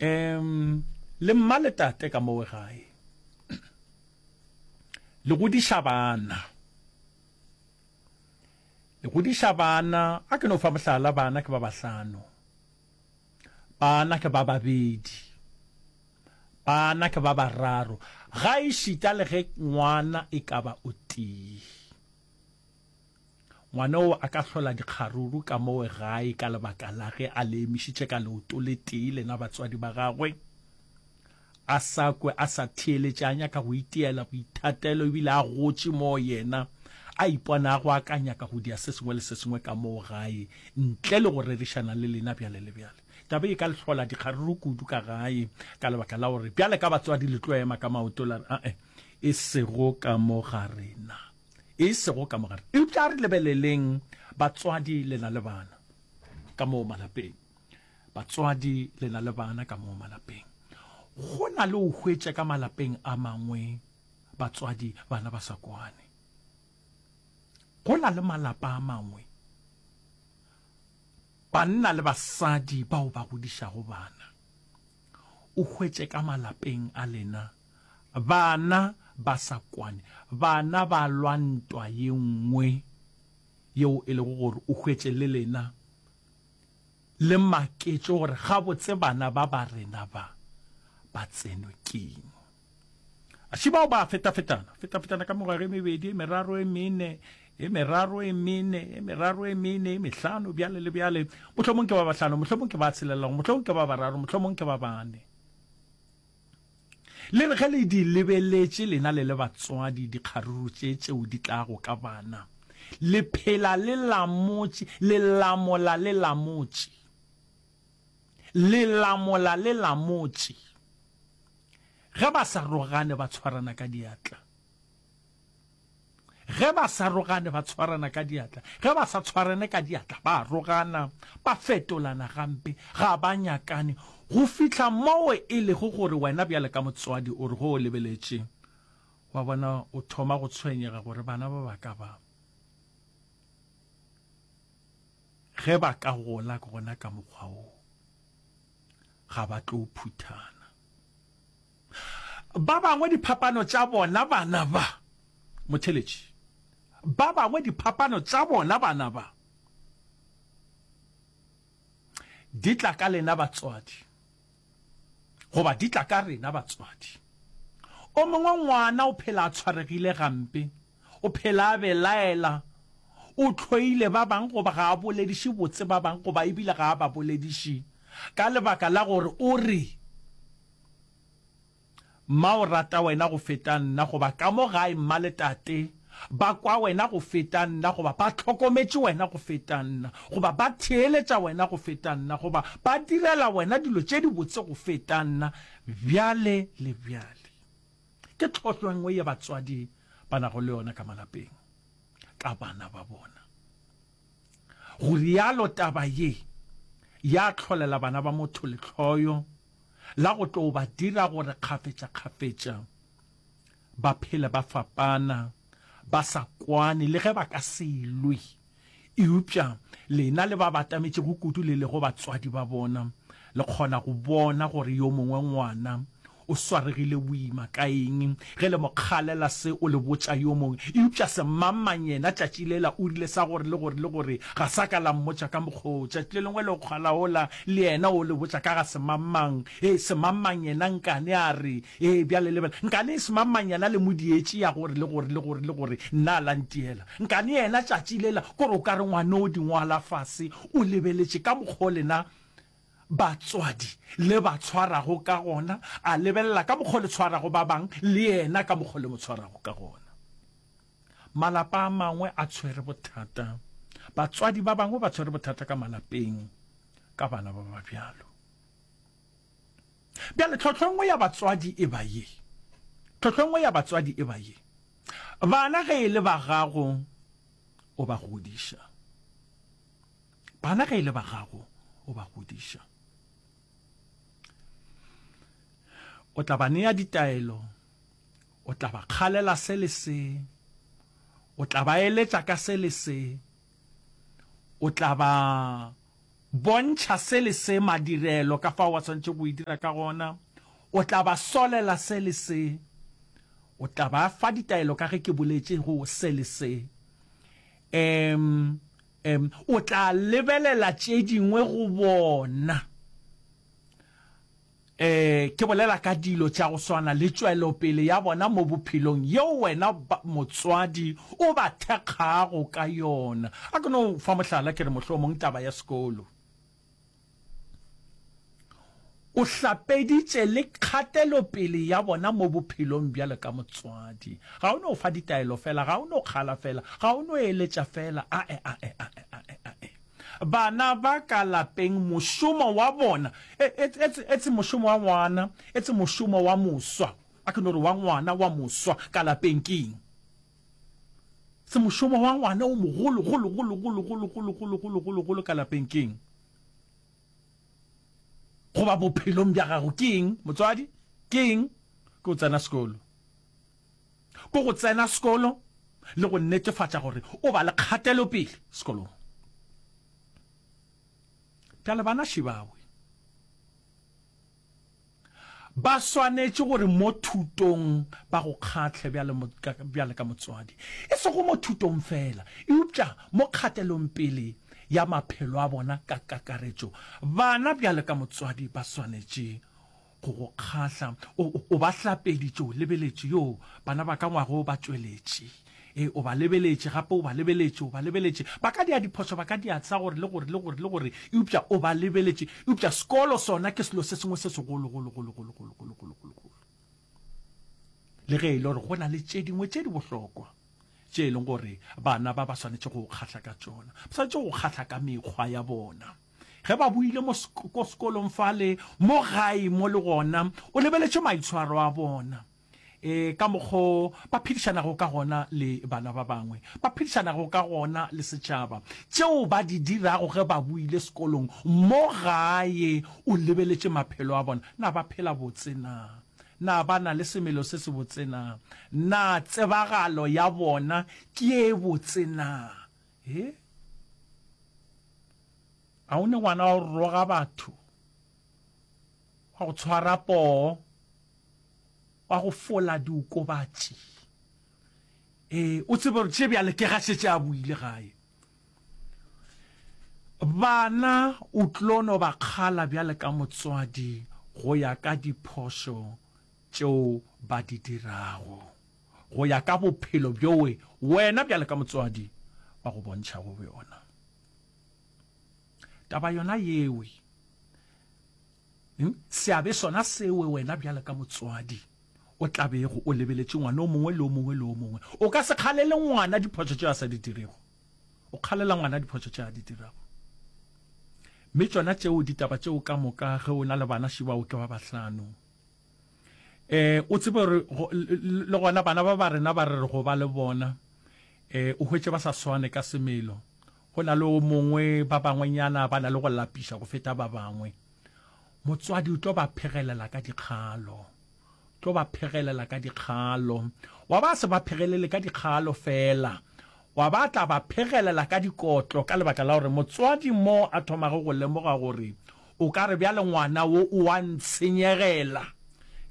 Um le mma le tate ka mowe gae. Le godiša bana. Le godiša bana, a ke no fa mohlala, bana ke ba bahlano. Bana ke ba babedi. Bana ke ba bararo. Gaešita le ge ngwana e ka ba o tee. Ngwana oo a ka hlola dikgaruru ka mowe gae ka lebaka la ge a le emišitše ka leoto le tee lena batswadi ba gagwe. A sa kwe, a sa theeletše, a nyaka go itiela boithatelo ebile a gotše moo yena a iponago a ka nyaka go dia se sengwe le se sengwe ka moo gae ntle le go rerišana le lena bjale le bjale. Taba e ka le hlola dikgaruru kudu ka gae ka lebaka la gore bjale ka batswadi le tlo ema ka maoto la re ae e sego ka mo ga rena. E sego ka mo gare. Eupša a re lebeleleng batswadi le na le bana ka moo malapeng. Batswadi le na le bana ka moo malapeng. Go na le o hwetše ka malapeng a mangwe batswadi bana ba sa kwane. Go na le malapa a mangwe banna le basadi bao ba godišago bana. O hwetše ka malapeng a lena Bana ba sa kwane. Bana ba lwa ntwa ye nngwe yeo e lego gore o hwetše le lena le maketše gore gabotse bana ba ba rena ba ba tsenwe keng. Aši bao ba fetafetana, fetafetana ka mengwaga e mebedi, e meraro, e mene, e meraro, e mene, e meraro, e mene, e mehlano, bjale le bjale. Mohlomong ke ba bahlano, mohlomong ke ba tshelelago, mohlomong ke ba bararo, mohlomong ke ba bane. Le re ge le di lebeletše lena le le batswadi dikgaruru tše tšeo di tlago ka bana, le phela le lamotše, le lamola le lamotše, le lamola le lamotše. Ge ba sa rogane ba tshwarana ka diatla. Ge ba sa rogane ba tshwarana ka diatla, ge ba sa tshwarane ka diatla ba a rogana, ba fetolana gampe, ga ba nyakane, go fihla moo e lego gore wena bjale ka motswadi o re ge o lebeletše wa bona o thoma go tshwenyega gore bana ba ba ka ba ge ba ka gola gona ka mokgwa wo ga ba tlo phuthana. Ba bangwe diphapano tša bona bana ba, motheeletši, ba bangwe diphapano tša bona bana ba di tla ka lena batswadi, goba di tla ka rena batswadi. O mongwe ngwana o phela a tshwaregile gampe, o phela a belaela, o hloile ba bang goba ga a bolediše botse ba bang goba ebile ga a ba bolediše ka lebaka la gore o re, Mma o rata wena go feta nna, goba ka mo gae mma le tate ba kwa wena go feta nna, goba ba hlokometše wena go feta nna, goba ba theeletša wena go feta nna, goba ba direla wena dilo tše dibotse go feta nna, bjale le bjale. Ke tlhohlo e nngwe ye batswadi ba nago le yona ka malapeng ka bana ba bona. Go rialo taba ye ya hlolela bana ba motho lehloyo la go tlo ba dira gore kgafetšakgafetša ba phele ba fapana, ba sa kwane le ge ba ka se lwe. Eupša lena le ba batametšego kudu le lego batswadi ba bona, le kgona go bona gore yo mongwe ngwana o swaregile boima ka eng ge le mo kgalela se o le botša yo mongwe. Eupša semangmang yena tšatši lela o rile sa gore le gore le gore ga sa ka la mmotša ka mokgwa wo. Tšatši le lengwe le kgala wola le yena o le botša ka ga semangmang. Ee, semangmang yena nkane a re, Ee, bjale lebela, nkane semangmang yena le mo dietše ya gore le gore le gore le gore nna a la ntiela. Nkane yena tšatši lela kore o ka re ngwana o di ngwala fase o lebeletše ka mokgwa o lena batswadi le ba tshwarago ka gona, a lebelela ka mokgwa o le tshwarago ba bang le yena ka mokgwa o le mo tshwarago ka gona. Malapa a mangwe a tshwere bothata, batswadi ba bangwe ba tshwere bothata ka malapeng ka bana ba ba bjalo. Bjale tlhohlo e nngwe ya batswadi e ba ye, tlhohlo e nngwe ya batswadi e ba ye, bana ge e le ba gago o ba godiša. Bana ge e le ba gago, o ba godiša. O tla ba nea ditaelo, o tla ba kgalela se le se, o tla ba eletša ka se le se, o tla ba. bontšha se le se madirelo ka fao ba swanetše go e dira ka gona. O tla ba solela se le se. O tla ba fa ditaelo ka ge ke boletše go se le se. Um, um, o tla lebelela tše dingwe go bona. Ee, ke bolela ka dilo tša go swana le tšwelopele ya bona mo bophelong yeo wena motswadi o ba thekgago ka yona. A ke no fa mohlala ke re mohlomong taba ya sekolo. O hlapeditše le kgatelopele ya bona mo bophelong bjalo ka motswadi. Ga o no fa ditaelo fela, ga o no kgala fela, ga o no eletša fela, ae, ae, ae, ae, ae. Bana ba ka lapeng mošomo wa bona, e, e, etse, etse mošomo wa ngwana, etse mošomo wa moswa, a ke no re wa ngwana wa moswa ka lapeng ke eng? Se mošomo wa ngwana o mogolo, golo, golo, golo, golo, golo, golo, golo, golo, golo ka lapeng ke eng? Goba bophelong bja gago ke eng, motswadi? Ke eng? Ke go tsena sekolo. Ke go tsena sekolo le go netefatša gore o ba le kgatelopele sekolong. Bjale bana šibawe ba swanetše gore mo thutong ba go kgahle bjale, bjale ka motswadi, e sego mo thutong fela, eupša mo kgatelongpele ya maphelo a bona ka kakaretšo. Bana bjale ka motswadi ba swanetše go go kgahla. O, o ba hlapeditše, o lebeletše, yo, bana ba ka ngwaga o ba tšweletše. E, o ba lebeletše, gape o ba lebeletše, o ba lebeletše. Ba ka dia diphošo, ba ka dia sa gore le gore le gore le gore, eupša o ba lebeletše. Eupša sekolo sona ke selo se sengwe se segolo, golo, golo, golo, golo, golo, golo, golo, golo. Le ge e le gore go na le tše dingwe tše di bohlokwa tše e leng gore bana ba ba swanetše go kgahla ka tšona. Ba swanetše go kgahla ka mekgwa ya bona. Ge ba boile mo ko sekolong fale, mo gae mo le gona, o lebeletše maitshwaro a bona, e, ka mokgo ba phedišanago ka gona le bana ba bangwe, ba phedišanago ka gona le setšhaba, tšeo ba di dirago ge ba boile sekolong, mo gae, o lebeletše maphelo a bona. Na ba phela botse na? Na ba na le semelo se sebotse na? Na tsebagalo ya bona ke ye botse na? He? A o ne ngwana wa go roga batho, wa go tshwara poo, wa go fola diokobatši? Ee, o tsebe gore tše bjale ke ga šetše a boile gae. Bana o tlo no ba kgala bjale ka motswadi go ya ka diphošo tšeo ba di dirago. Go ya ka bophelo bjoe wena bjale ka motswadi ba go bontšhago bjona. Taba yona yewe, seabe sona sewe wena bjale ka motswadi o tla bego o lebeletše ngwana o mongwe le o mongwe le o mongwe. O ka se kgalele ngwana diphošo tše a sa di dirego. O kgalela ngwana diphošo tše a di dirago. Mme tšona tšeo ditaba tšeo ka moka ge o na le bana šibao ke ba bahlano. Eh, o tsebe gore le gona bana ba ba rena ba re re go ba le bona, eh, o hwetše ba sa swane ka semelo. Go na le o mongwe, ba bangwenyana ba na le go lapiša go feta ba bangwe. Motswadi o tlo ba phegelela ka dikgalo. Tlo ba phegelela ka dikgalo. Wa ba se ba phegelele ka dikgalo fela. Wa ba tla ba phegelela ka dikotlo ka lebaka la gore motswadi mo a thomago go lemoga gore O ka re bjale ngwana wo o a ntshenyegela.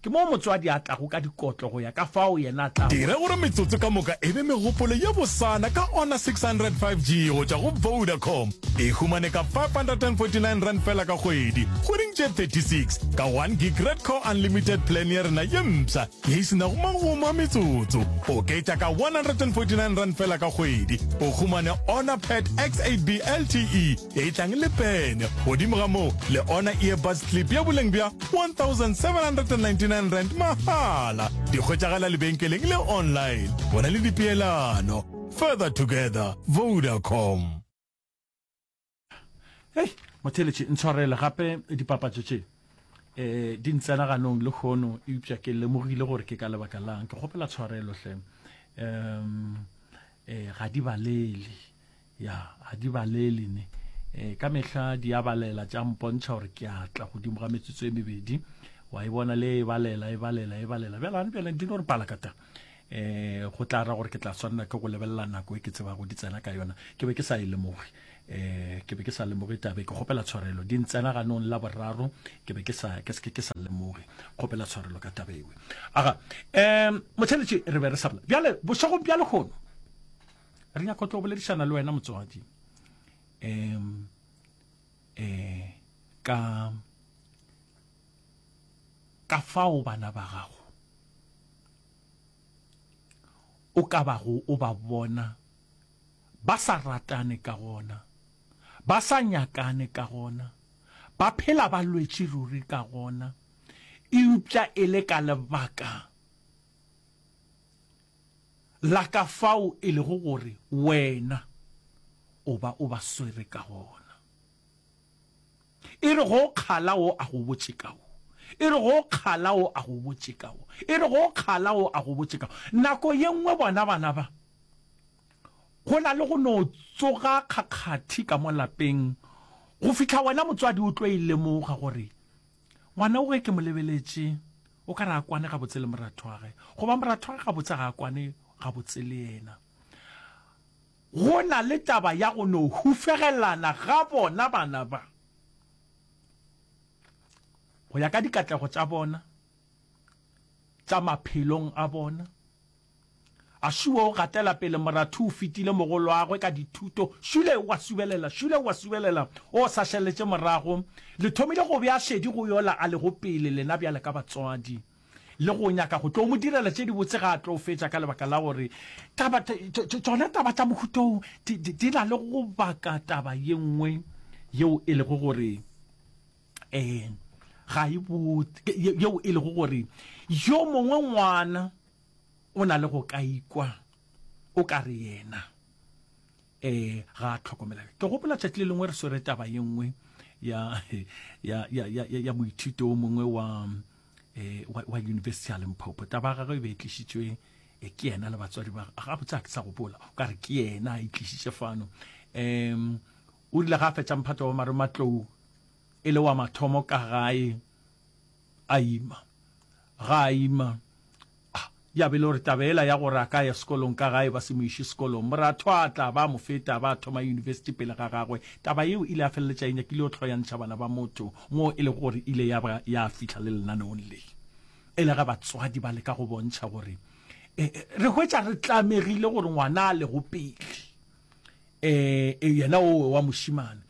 Ke moo motswadi a tlago ka dikotlo go ya ka fao yena a tlago. Dira gore metsotso ka moka e be megopolo ye bosana ka Honor 600 5G go tšwa go Vodacom. E humane ka R549 feela ka kgwedi, kgweding tše 36, ka 1 gig Red Core Unlimited plan ya rena ye mpsha ye e se nago magomo a metsotso. Oketša ka R149 feela ka kgwedi, o humane Honor Pad X8B LTE E tlang le pene. Godimo ga moo, le ona earbuds clip ya boleng bja R1799 mahala. Di hwetšagala lebenkeleng le online. Bona le dipeelano. Further together, Vodacom. Hei, motheeletši, ntshwarele gape dipapatšo tše eh di ntsena ganong lehono, eupša ke lemogile gore ke ka lebaka lang. Ke kgopela tshwarelo hle. Um eh ga di balele. Ya, ga di balele ne. E, ka mehla di a balela, tša mpontšha gore ke a tla godimo ga metsotso e mebedi. Wa e bona le e balela, e balela, e balela. Bjale gane bjale di no re palakata. Um go tla ra gore ke tla swanela ke go lebelela nako e ke tsebago di tsena ka yona. Ke be ke sa e lemoge. Um ke be ke sa lemoge taba e, ke kgopela tshwarelo. Di ntsena ganong la boraro, ke be ke sa, ke se ke sa lemoge. Kgopela tshwarelo ka taba ewe. Aga, um motheletši re be re sa bolela. Bjale, bošegong bja lehono, re nyaka go tlo boledišana le wena motswadi. Um um ka ka fao bana ba gago o ka bago o ba bona ba sa ratane ka gona, ba sa nyakane ka gona, ba phela ba lwetše ruri ka gona, eupša e le ka lebaka la ka fao e lego gore wena o ba o ba swere ka gona. E re go kgala wo a go botše ka wo. E re go kgala wo a go botše ka wo. E re go kgala wo a go botše ka wo. Nako ye nngwe bona bana ba, go na le go no tsoga kgakgathi ka mo lapeng go fihla wena motswadi o tlo e lemoga gore ngwana o ge ke mo lebeletše o ka re a kwane gabotse le morathoage goba morathoage gabotse ga a kwane gabotse le yena. Go na le taba ya go no hufegelana ga bona bana ba, go ya ka dikatlego tša bona tša maphelong a bona. Ašuwe o gatela pele moratho o fetile mogoloagwe ka dithuto, šule o a subelela, šule o a subelela, o sa šaletše morago. Le thomile go bea šedi go yola a lego pele, lena bjale ka batswadi. le go nyaka go tlo mo direla tše dibotse ga a tlo fetša ka lebaka la gore taba tšona taba tša mohuta wo di na le go baka taba ye nngwe yeo e lego gore um ga e botse yeo e lego gore yo mongwe ngwana o na le go ka ikwa o ka re yena um ga a tlhokomela ke gopola tšatši le lengwe re swere taba ye nngwe ya ya ya ya ya moithuti o mongwe wa eh wa, wa university ya Limpopo taba ya gagwe e be e tlišitšwe eh, ke yena le batswadi ba gabotse a ke sa gopola o ka re ke yena a e tlišitše fano um o rile ga a fetša mphato wa marematlou e le wa mathomo ka gae a ima ga a ima Ah, ya be e le gore taba yela ya gore a ka ya sekolong ka gae ba se mo iše sekolong, moratho a tla ba mo feta ba thoma yunibesithi pele ga gagwe. Taba yeo e ile ya feleletša e nyakile go hloyantšha bana ba motho moo e lego gore e ile ya ba ya fihla le lenaneong le e le ge batswadi ba leka go bontšha gore e, re hwetša re tlamegile gore ngwana a lego pele E, e, yena owe wa mošimane.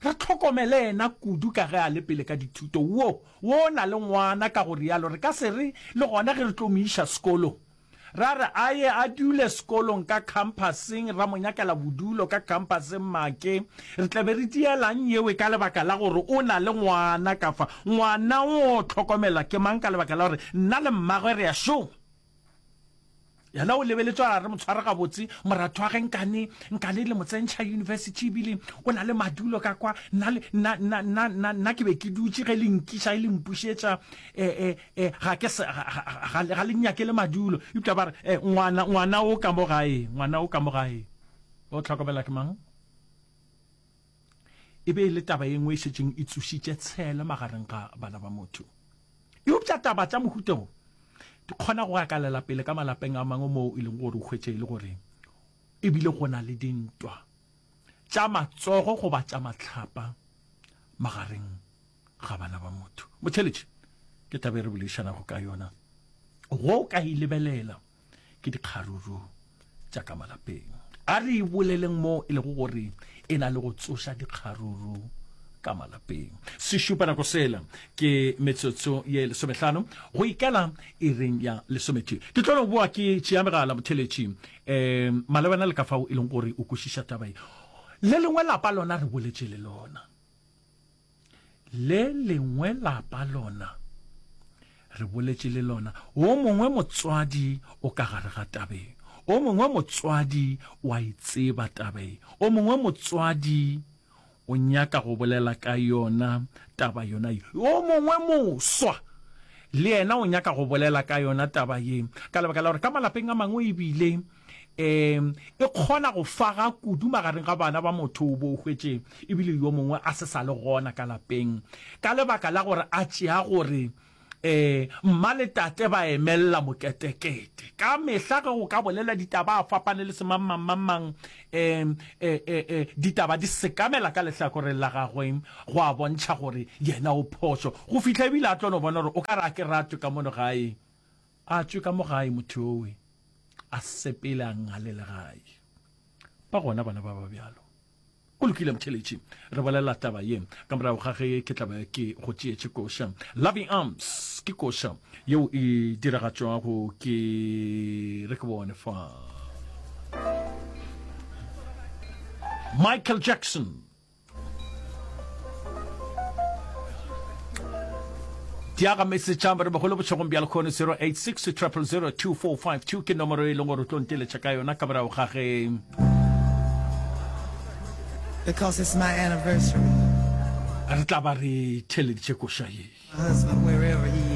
Re hlokomele yena kudu ka ge a le pele ka dithuto. Wo, wo o na le ngwana, ka go rialo re ka se re le gona ge re tlo mo iša sekolong. Ra re a ye a dule sekolong ka khamphaseng, ra mo nyakela bodulo ka khamphaseng make. Re tla be re dielang yewe ka lebaka la gore o na le ngwana ka fa. Ngwana o hlokomelwa ke mang ka lebaka la gore nna le mmagwe re a šoma. Yena o lebeletše a re mo tshware gabotse, moratho wa ge nkane, nkane le mo tsentšha university ebile o na le madulo ka kwa, nna le, nna, nna, nna, nna, nna ke be ke dutše ge le nkiša e le mpušetša, e, e, e, ga ke se, ga, ga, ga, ga le nnyakele madulo. Eupša ba re, e, ngwana, ngwana o ka mo gae, ngwana o ka mo gae, o hlokomela ke mang? E be e le taba ye nngwe e šetšeng e tsošitše tshele magareng ga bana ba motho. Eupša taba tša mohuta wo di kgona go akalela pele ka malapeng a mangwe moo e leng gore o hwetše e le gore e bile go na le dintwa tša matsogo goba tša mahlapa magareng ga bana ba motho. Motheeletši, ke taba e re boledišanago ka yona. Go ka e lebelela ke dikgaruru tša ka malapeng. A re e boleleng mo e lego gore e na le go tsoša dikgaruru ka malapeng. Sešupa nako sela ke metsotso ye lesomehlano go ikela iring ya lesometee. Ke tlo no boa ke tšea megala motheletši um malebana le ka fao e leng gore o kwešiša taba ye. Le lengwe lapa lona re boletše le lona. Le lengwe lapa lona, re boletše le lona, wo mongwe motswadi o ka gare ga taba ye, o mongwe motswadi o a e tseba taba ye, o mongwe motswadi o nyaka go bolela ka yona taba yona ye, o mongwe moswa le yena o nyaka go bolela ka yona taba ye, ka lebaka la gore ka malapeng a mangwe ebile um e kgona go faga kudu magareng ga bana ba motho o bo o hwetše ebile yo mongwe a se sa le gona ka lapeng ka lebaka la gore a tšea gore um. E, mma le tate ba emelela moketekete. Ka mehla ge go ka bolela ditaba a fapane le semangmangmangmang, e, e, e, e, ditaba di sekamela ka lehlakoreng la gagwe go a bontšha gore yena o phošo. Go fihla ebile a tlo no bona gore o ka re a ke ratwe ka mono gae. A tšwe ka mo gae motho yowe, a sepele a ngalele gae. Ba gona bana ba ba bjalo. Go lokile motheeletši, re bolela taba ye ka morago ga ge ke tla be ke go tšeetše koša. Loving Arms ke koša yeo e diragatšwago ke re ke bone fa Michael Jackson. Diaga message a re mogolo bošegong bja lekgono 086 000 2452 ke nomoro e leng gore o tlo nteletša ka yona ka morago ga ge Because it's my anniversary. Re tla ba re theeleditše koša ye. My husband, wherever he is.